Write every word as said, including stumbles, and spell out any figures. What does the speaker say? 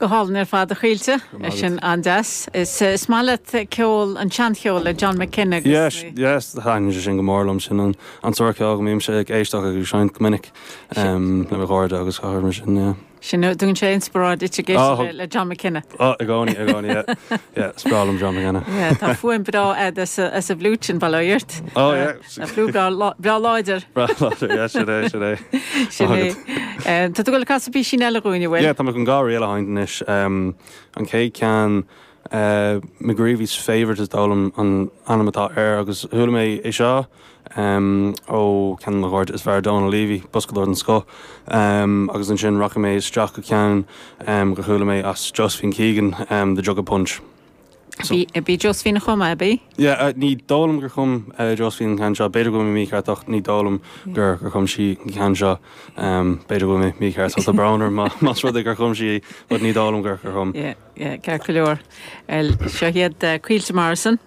Go hálainn ar fad a Chaoilte é sin an-deas. Is is maith leat ceol an seancheol le John McKenna. Yes, yes, thaitníonn sé sin go mór liom sin an an sórt ceoil go mbímse ag éisteacht agus seinnt go minic um, le mo chairde agus gach mar sin yeah. Sin tugann sé inspioráid duit Ah, le, le John McKenna. Oh, i gcónaí i gcónaí yeah. Yeah, is breá liom John McKenna. Yeah, tá fuaim breá agat as a as a bhfliúit sin bailírt. Oh, yeah. Fliúit breá láidir. Breá láidir, yeah, sin é sin é. Sin é. Eh, Tá tú ag casadh píosa eile dúinn bhfuil? Yeah, tá mé chun dhá ríl a sheinnt anois um, an chéad cheann uh, McGreevy's Favourite is dóigh liom an ainm atá air agus chuala mé é seo um, ó ceann mo chairde is fearr Donal Levy boscadóir den scoth um, agus ansin rachaidh mé isteach go ceann um, go chuala mé as Josephine Keegan um, the Jug of Punch. So, Bhí Josephine chum é bí? Yeah, uh, ní dóigh liom gur chum uh, Josephine ceann seo b'fhéidir go mí mícheart ní dóigh liom gur gur chum sí ceann seo um, b'fhéidir go mí mícheart tá brón orm más rud é gur chum sí but ní dóigh liom gur gur chum. Yeah, yeah, ceart go leor. Seo iad uh, Caoilte Morrison.